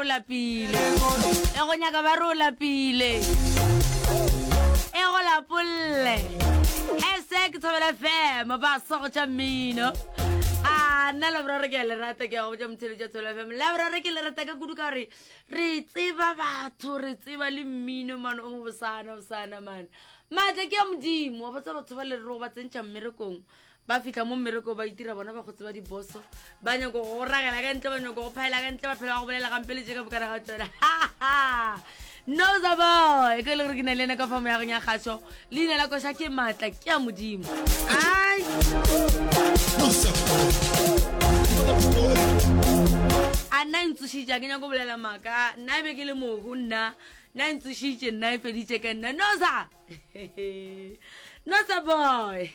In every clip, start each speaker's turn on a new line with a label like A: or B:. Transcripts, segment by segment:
A: O lapile. E go nyaka ba re o lapile. E go lapolle. Ese ke Thobela FM ba sa go tša mmino. A nna Laboraro ke a le rata ke a go botša motheletši wa Thobela FM. Laboraro ke le rata ka kudu ka gore re tseba batho re tseba le mmino mane o mo bosana bosana mane. Maatla ke a Modimo wa botsa batho ba le re go ba tsentšha mmerekong Ba fihla mo mmerekong ba itira bona ba go tseba diboso, ba nyako go ragela ka ntle, ba nyako go phaela ka ntle, ba phela ba go bolela gampe le tše ka bokana ga tsona. Noza boy, ke le gore ke na le ena ka fa moyagong ya kgašo, leina la koša ke maatla ke a Modimo. Ai. A nna e ntsošitše, a ke nyako bolela maaka, nna e be ke le mohu nna, nna e ntsošitše, nna e feditše ka nna. Noza! Noza boy.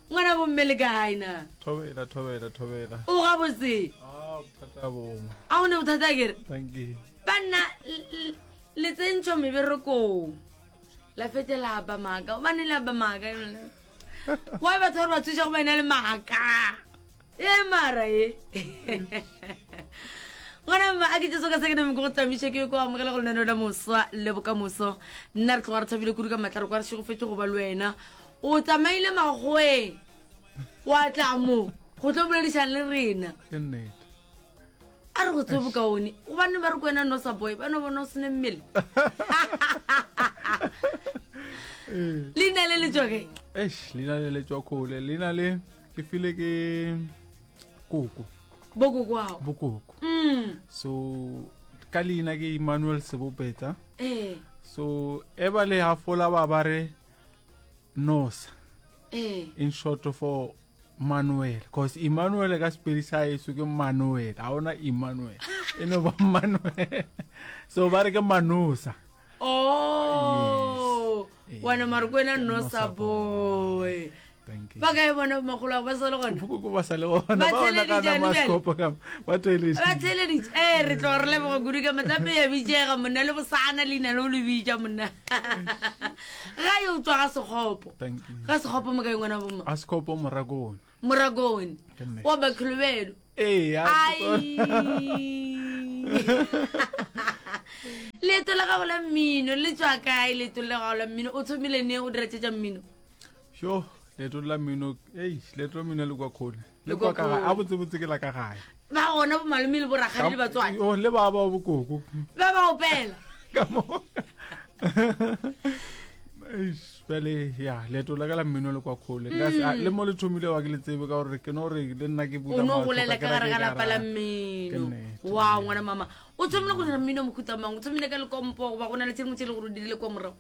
A: Ngwana bomme le kae na?
B: Thobela, thobela, thobela.
A: O gabotse?
B: Ah, bothata bongwe.
A: A o ne bothata kere?
B: Thank you.
A: Banna le tsentšho meberekong. La fete la ba maaka. Gobane la ba maaka. Why batho ba re ba thuša go ba ena le maaka? E mara e. Ngwana mma a ke jesu ka se ke name ke go tamiše ke ko amogela go lenaneo la moswa le bokamoso. Nna re tloga re thabile kudu ka matla re kwa re šegofetše go ba le wena. O tsamaile makgoweng wa tla mo go tlo boledišana le rena.
B: Ke nnete.
A: A re go tsebe bokaone gobane ba re ko wena nosa boy ba no bona o sene mmele. Leina le le tswa kae?
B: Eish, leina le le tswa kgole. Leina le ke file ke koko.
A: Bokoko ao.
B: Bokoko.
A: Mm.
B: So ka leina ke Emmanuel Sebopetsa.
A: Eh.
B: So e ba le hafola ba ba re Nosa.
A: Eh.
B: In short for Manuel cause Emmanuel ka sepedi sa eso ke Manuel ga ona Emmanuel e no ba Manuel so ba re ke Manosa
A: oh
B: Yes.
A: wena mare ko wena
B: Nosa
A: Nosa boy
B: Thank you.
A: ba kae bona makgolo ao ba sa le gona
B: Bokoko ba sa le gona
A: Ba
B: ba ona ka
A: theeleditše,
B: nama
A: bjale.
B: sekopo ka ba theeleditše.
A: ba theeleditše ee re tloga re leboga kudu ka matlape ya bitšega monna le bosana leina le o le bitša monna ga yo tswa ga sekgopo
B: Thank you.
A: ga sekgopo mo kae ngwana bomma
B: A sekgopo morakone.
A: morakone
B: Ke nnete.
A: wa bakholobelo
B: Ee, a
A: ai leeto la gago la mmino le tswa kae leeto la gago la mmino o thomile ne o dira tše tša mmino
B: Sho, leeto la mmino, ei, leeto la mmino le kwa kgole.
A: Le
B: Le kwa ka
A: kwa
B: gae, a botsebotse ke la ka gae.
A: Ba gona bo malome le borakgadi le batswadi.
B: Oh, le ba ba bokoko.
A: Ba ba opela.
B: Ka mo. Eish, bjale ya leeto la ka la mmino le kwa kgole. Nka se- a, Le mo le thomile wa ke le tsebe ka gore ke no re le nna ke
A: O
B: bula
A: no
B: mahlo
A: golela
B: ka
A: ka gare
B: kera
A: ga
B: ke
A: lapa la
B: ka ra- Ke
A: mmino.
B: nnete.
A: Wow, ngwana mama. O thomile go dira mmino mohuta mang? O thomile ka lekompo goba go na le tse dingwe tse e le gore o di dirile kwa morago?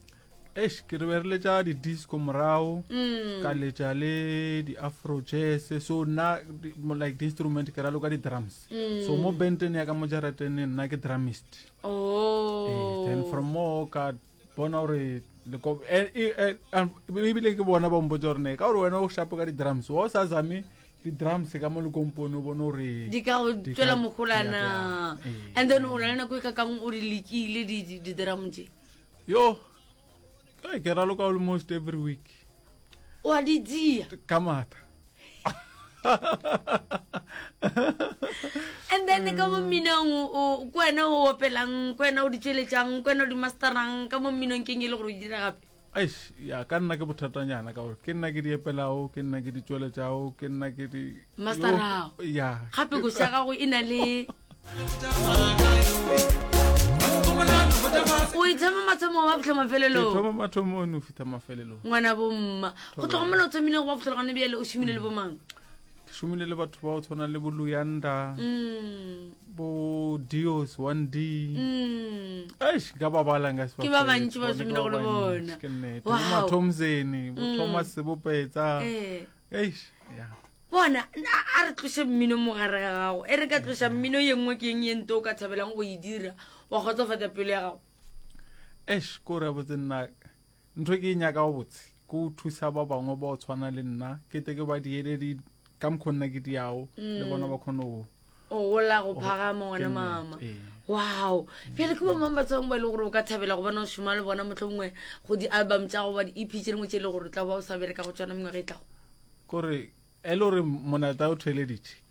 B: Eish, ke re be re letša di-disco morago
A: Mm.
B: ka letša le di-afro jazz so nna di- mo- like di-instrument ke raloka di-drums
A: Mm.
B: so mo benteng ya ka mo jarateng nna ke drummist
A: Oh.
B: Eh, then from mo ka bona gore leko- eh, eh, eh, um, ebile ke bona ba mpotsa gore ne ka gore wena o shapo ka di-drums wa o sa zame di-drums ka mo lekompone o bone gore
A: di ka go
B: di ka-
A: tswela mogolana
B: ya, ya. Eh.
A: and then o na le nako e ka kang o di lekile di- di- di-drum tše
B: Yo, eh, ke raloka almost every week.
A: O a di dia.
B: Ka mata.
A: And then ka mo mminong o ko wena o opelang, ko wena o di tšweletšang, ko wena o di masterang, ka mo mminong keng e le gore o di dira gape?
B: Eish, ya ka nna ke bothatanyana ka gore ke nna ke di epelago, ke nna ke di tšweletšago, ke nna ke di
A: Masterago.
B: Ya.
A: Gape koša ya gago e na le o ithoma mathomo wa fitlha mafelelong
B: thoma mathomong o fitlha mafelelong
A: ngwana bomma go tloga mola o thomile go ba fitlhela gone bjale o šomile le bomang
B: ke šomile le batho ba go tshwana le bo luyanda
A: mm.
B: bo dios 1 d
A: mm.
B: eish nka ba bala nka se
A: Ke ba bantši ba šomile go le bona.
B: ke nnete bo
A: Wow. Mm.
B: mathomsene bo thomas sebopetsa
A: Eh.
B: eish ya
A: Bona, a re tloše mmino mo gare ga gago. E re ka tloša mmino ye nngwe ke eng ye nto o ka thabelang go e dira wa kgotsofatša pelo ya gago?
B: Eish, ko re botse nna ntho e ke e nyaka go botse ke go thusa ba bangwe ba go tshwana le nna ke tle ke ba diele di ka mokgwa nna ke diago le bona ba kgone go
A: O gola go phagama ngwana mama. Wow. Bjale ke bomang batho bangwe ba e le gore o ka thabela go bona o šoma le bona mohlomongwe go di-album tša go ba di-EP tše dingwe tše e le gore o tla ba o sa bereka go tšona mengwaga e tlago?
B: Kore e le gore monata o theeleditše.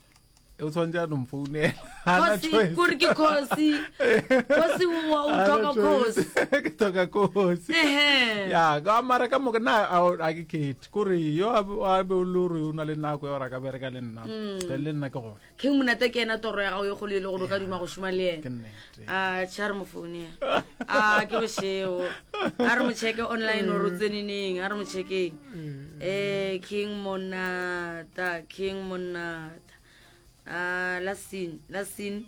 B: O tshwanetse a no mfounela. Ha na
A: Khosi,
B: choice.
A: kore ke khosi. Khosi o o
B: Ha na
A: tlhoka
B: choice.
A: khosi.
B: Ke tlhoka khosi.
A: Ehe.
B: Ya, ka mara ka moka nna a a ke khethe. Kore yo a be a be o le gore o na le nako ya gore a ka bereka le nna. Then le nna ke gona.
A: King Monate ke ena toro ya gago ye kgolo e le gore o ka duma go šoma le
B: Ke
A: yena.
B: nnete.
A: A tšhe a re mo founela. A ke bošego. A re mo checke online gore o tsene neng. A re mo checkeng. Eh King Monata, King Monata. A la sin, la sin.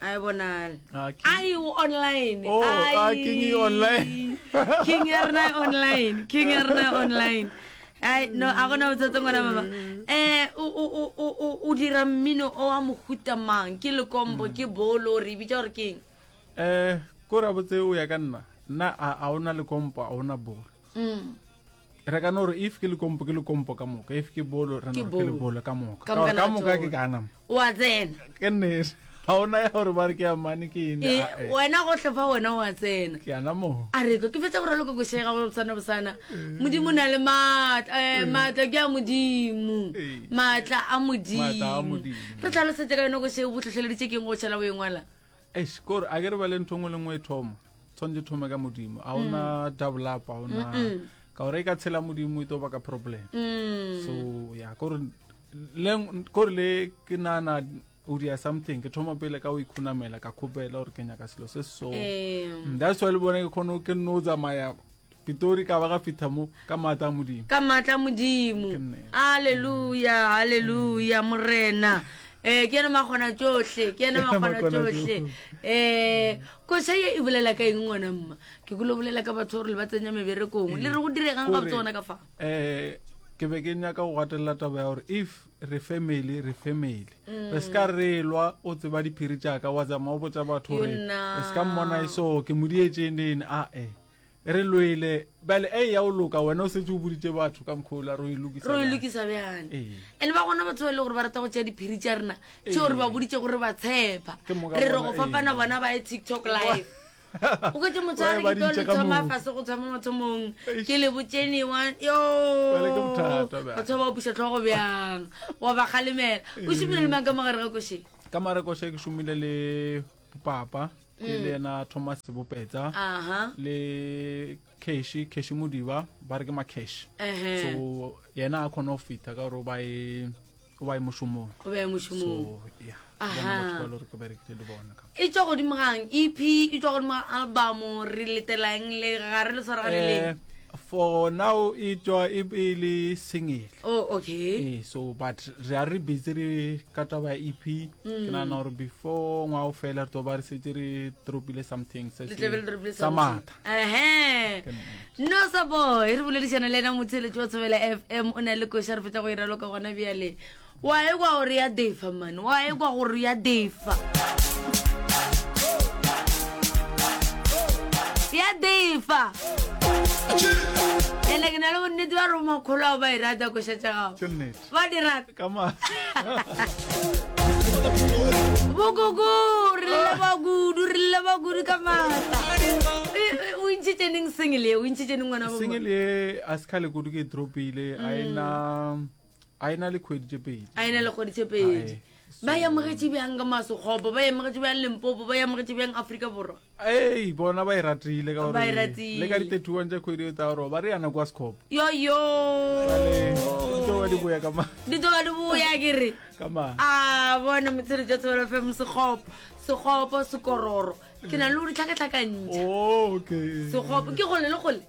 A: A e bonale.
B: Ah, King-
A: Ai o online.
B: Oh, ah,
A: Ai.
B: King e online.
A: King ya rena e online. King ya rena e online. Ai no a gona botsatsa ngwana mama. Eh o o o o o- o dira mmino o wa mohuta mang? Ke lekombo, ke bolo, re e bitsa gore ke eng?
B: Eh, ko ra botse o ya ka nna. Nna a a ona lekompo, a ona bolo.
A: Mm.
B: Re ka no re if ke lekompo ke lekompo ka moka, if ke bolo re
A: Ke
B: no re ke
A: bolo.
B: lebolo ka moka.
A: Ka
B: Ka gore
A: moka
B: ka
A: la
B: moka ke
A: tsona.
B: ka nama.
A: O a tsena.
B: Ke nnete. Ga ona ya gore ba re ke ya mane ke eng.
A: Eh,
B: ah, eh.
A: wena gohle fa wena o a tsena.
B: Ke ana mo.
A: A re ke fetsa go raloka košega go bosana bosana. Modimo o na le maatla, eh, maatla ke a Modimo.
B: Ee.
A: Maatla a
B: Maatla a
A: Modimo.
B: Modimo.
A: Re tlhalosetse ka yone košego bo tlhotlheleditse keng go šala o e ngwala?
B: Eish, kore a ke re bale ntho nngwe le nngwe e thoma tshwanetse e thome ka modimo a ona mm. double up a ona ka gore e ka tshela modimo e tlo baka problem
A: mm.
B: so ya kore le kore le ke nana o dia something ke thoma pele ka o ikhunamela ka khopela gore ke nyaka selo se so mm, that's why le bone ke kgone ke nno tsamaya Pitori ka ba ga fitha mo ka maatla a Modimo.
A: Ka maatla a Modimo. Haleluya, haleluya, Morena. Eh, ke ena makgona tšohle, ke ena makgona tšohle. Eh, koša ye e bolela ka eng ngwana mma? Ke kule bolela ka batho gore le ba tsenya meberekong. Le re go diregang ga tsona ka fa?
B: Eh, ke be ke nyaka go gatelela taba ya gore if re family re family re se ka re lwa o tseba diphiri tšaka wa tsamaya o botsa batho gore re se ka mmona e so ke mo dietšeneng a e Re lwele bjale e ya o loka wena o setse o boditše batho ka mokgwa ola ro e lokisa
A: ro e
B: bjang.
A: lokisa bjang
B: Ee.
A: and ba gona batho ba e le gore ba rata go tšea diphiri tša rena tšeo re ba boditše gore ba tshepa
B: Ke moka
A: re re
B: bona,
A: go fapana
B: ee.
A: bona ba ye tiktok live o kwetse motho a re
B: Ba
A: ke tlo
B: di
A: le
B: ntšha ka
A: thoma
B: moo.
A: fase go thoma mathomong
B: Eish.
A: ke le botšenewa yo
B: Bjale ke bothata bjale.
A: batho ba ba opiša tlhogo bjang wa ba kgalemela o šomile le mang ka mogare ga košeng
B: Ka mare koše ke šomile le papa ke le yena Thomas Bopetsa
A: aha
B: le Cash Cash Modiba ba re ke ma Cash
A: Ehe.
B: so yena a khona go fitha ka gore o ba e o ba e mošomong
A: o be mošomong
B: so yeah
A: Aha.
B: bona batho ba le gore ke berekile le bona ka
A: e tswa godimo gang ep e tswa godimo ga album re letelang le ga re le tshwaraganeleng
B: Eh, for now e tswa e e le single
A: oh okay
B: ee so but re a re busy re ka taba ya ep ke nagana gore before ngwa o fela re tlo ba re setse re dropile something se
A: Le tlabe le dropile
B: sa
A: something.
B: maatla
A: Ehe. no sa boy re boledišana le ena motheletši wa tshobela fm o na le koša re fetsa go e raloka gona bjale wa ekwa gore ya defa man wa ekwa gore ya defa ya defa ene ke na le bonnete ba re makgolo ao ba e rata koša tša gago
B: ke nnete
A: ba di rata
B: ka maatla
A: bokoko re leba kudu re leba kudu ka maatla E, e, o ntšhitše neng single ye o ntšhitše neng ngwana
B: single ye a se kgale kudu ke e dropile a ena a e na le kgwedi tše pedi
A: a e na le kgwedi tše pedi ba e amogetše bjang ka masokgopo ba e amogetše bjang limpopo ba e amogetše bjang aforika borwa
B: ei bona ba e ratile ka
A: Ba e
B: gore
A: ratile.
B: le ka di-31 tša kgwedi e tla gore ba re yana kwa sekgopo
A: yoyo
B: di tlo ba di boya ka ma
A: di tlo ba di boya ke re
B: ka ma
A: a bona motsheletso tshebelo fm sekgopo sekgopo sekororo ke na le go di tlhakatlhakantšha
B: Oh, okay
A: sekgopo ke gole le gole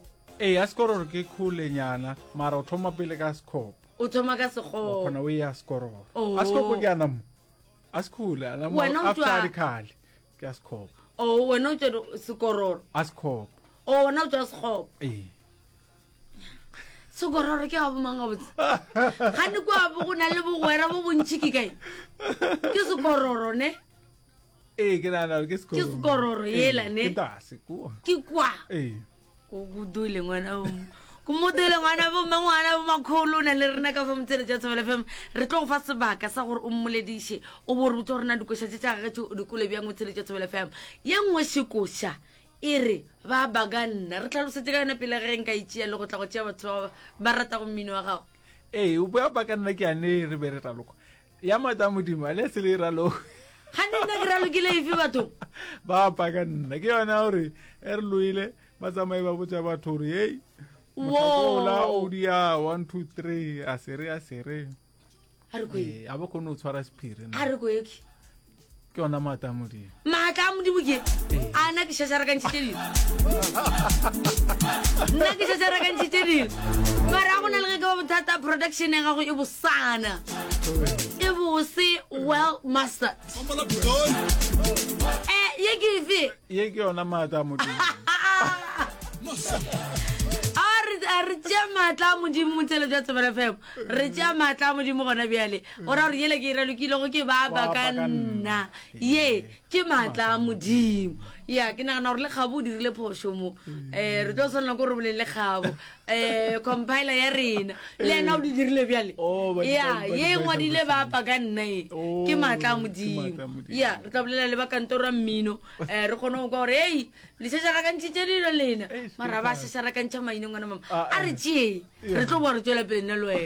B: ee ya sekororo ke kgolenyana mara o thoma pele ka sekgopo
A: o thoma ka
B: wa
A: sekgopo
B: kgona o ya sekororo
A: Oh.
B: a sekgopo ke ana mo a sekhole ana mo
A: Wena o
B: after
A: tšwa-
B: a dikhale ke a sekgopo
A: o wena o tswa sekororo
B: a sekgopo
A: o wena o tswa sekgopo
B: ee
A: sekororo ke ga bomang gabotse gane kwa bo go na le bogwera bo bontšhi ke kae ke sekororo ne
B: ee ke nagana gore ke sekororo
A: Ke sekororo yela, ne?
B: ke tase kua
A: ke kwa
B: ee
A: ko kodule ngwana bo ko module ngwana bo mma ngwana bo makgolo o na le rena ka fa motsele jwa tshobela fm re tlo go fa sebaka sa gore o mmolediše o bo re botse gore na dikoša tše tša gage tše o di kole bjang motsele jwa tshobela fm ye nngwe šekoša e re ba ba ka nna re tlhalosetse ka yona pele ge nka itšea le go tla go tšea batho ba ba ratago mmino wa gago
B: ee o boya ba ka nna ke ane re be re raloka. Ya maatla a Modimo, a le se le e raloke.
A: Gane nna ke ralokile efe batho?
B: Ba paka nna. Ke yona gore e re loile ba tsamaye ba botsa batho gore hei motlhakola o dia 1 2 3 a sere a sere.
A: A re
B: koe. A ba kgone go tshwara sephiri.
A: A re koe.
B: Ke yona maatla a Modimo.
A: Maatla a Modimo ke a nna ke šašarakantšhitše dilo. Nna ke šašarakantšhitše dilo. Mara go na le ge ke ba bothata production ya gago e bosana. E bose well mastered. Eh, ye ke efe?
B: Ye ke yona maatla a Modimo.
A: A re tšea maatla a Modimo motšhelo jwa Thobela FM. Re tšea maatla a Modimo gona bjale. O ra gore yela ke e ralokilego ke ba ba ka nna. Ye ke maatla a Modimo. Ya ke nagana gore le Kgabo o dirile phošo mo. Um re tlo swanela ke gore boleng le Kgabo. Um compiler ya rena le yena o di dirile bjale.
B: Oh,
A: Ya ye e ngwadile ba pa ka nna e ke maatla a Modimo. Ya re tla bolela le ba kantoro ya mmino um re kgone go kwa gore ei le šašarakantšhitše dilo lena. Mara ba šašarakantšha maina ngwana mama. A re tšee re tlo boa re tšwela pele nna le wena.